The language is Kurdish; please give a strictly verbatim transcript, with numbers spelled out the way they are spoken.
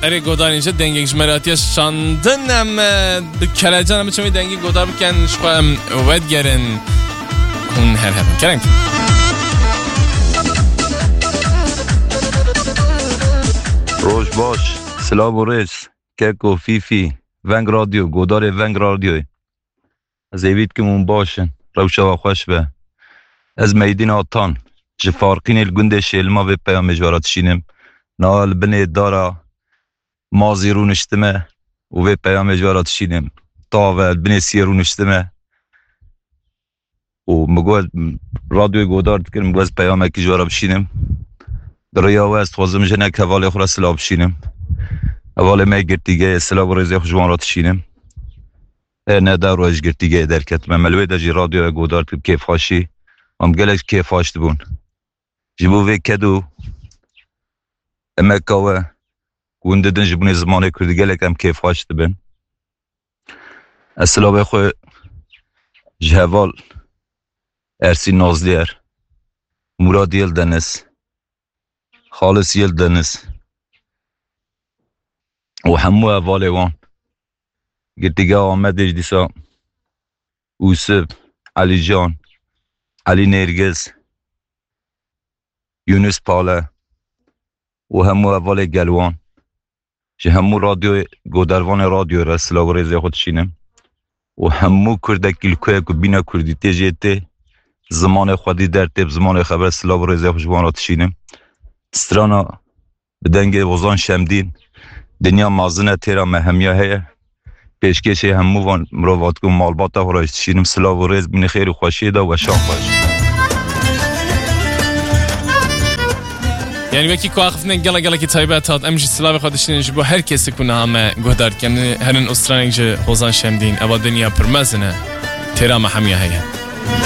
Erê godarên ji dengek ji me re hatiye şandin, em, e, bi kelecan em biçin wê dengê godar bikin, ji xwe em wedigerin. Hûn her hebin. Kerem. Roj baş, silav û rêz, Keko, Fîfî, Veng Radyo, godarê Veng Radyoyê. Ez hêvî dikim hûn baş in. Rewşa we xweş be. Ez Meydîn Atan. Ji Farqînê li gundê Şêlma vê peyamê ji we re dişînim. Niha li binê dara mazî rûniştime û vê peyamê ji we re dişînim. Tav e, li binê siyê rûniştime. Û min got, radyoyê godar dikirim, min got, ez peyamekî ji we re bişînim. Di riya we ez dixwazim jinek hevalê xwe re silav bişînim. Hevalê me girtîgehê, silav û rêzê xwe ji wan re dişînim. E, ne dar û ez ji girtîgehê derketime. Me li wê de jî radyoya godar dikir, kêfxweşî. Em gelek kêfxweş dibûn. Ji bo vê ked û emeka we ku hûn didin ji bunê zimanê kurdî gelek em kêfxweş dibin. Ez silavê xwe ji heval Ersîn Nazliyer, Murad Yildiz, Xalis Yildiz û hemû hevalê wan. Girtîgeha Amedê jî dîsa Ûsif, Elîcan, Elî Nêrgiz, Yunus Pale û hemû hevalê gel wan. Ji hemû radyoyê, godarvanê radyoyê re silav û rêzê xwe dişînim. Û hemû kurdekî li ku ye ku bîna kurdîtê jê tê, zimanê xwedî dertê, bi zimanê xeber silav û rêzê xwe ji wan re dişînim. Strana bi dengê Hozan Şemdîn, Dinya mezin e, têra me hemiya heye. Pêşkêşê hemû van mirova dikim, malbata xwe re jî dişînim. Silav û rêz bînin xêr û xweşiyê de, weşan xweş. Yani wekî ku axiftinên gele gelekî taybet hat, em jî silavê xwe dişînin ji bo her kesî ku niha me guhdar dikin. Herin û stranek ji Hozan Şemdîn, eva dinya pir mezin e. Têra me hemiya heye.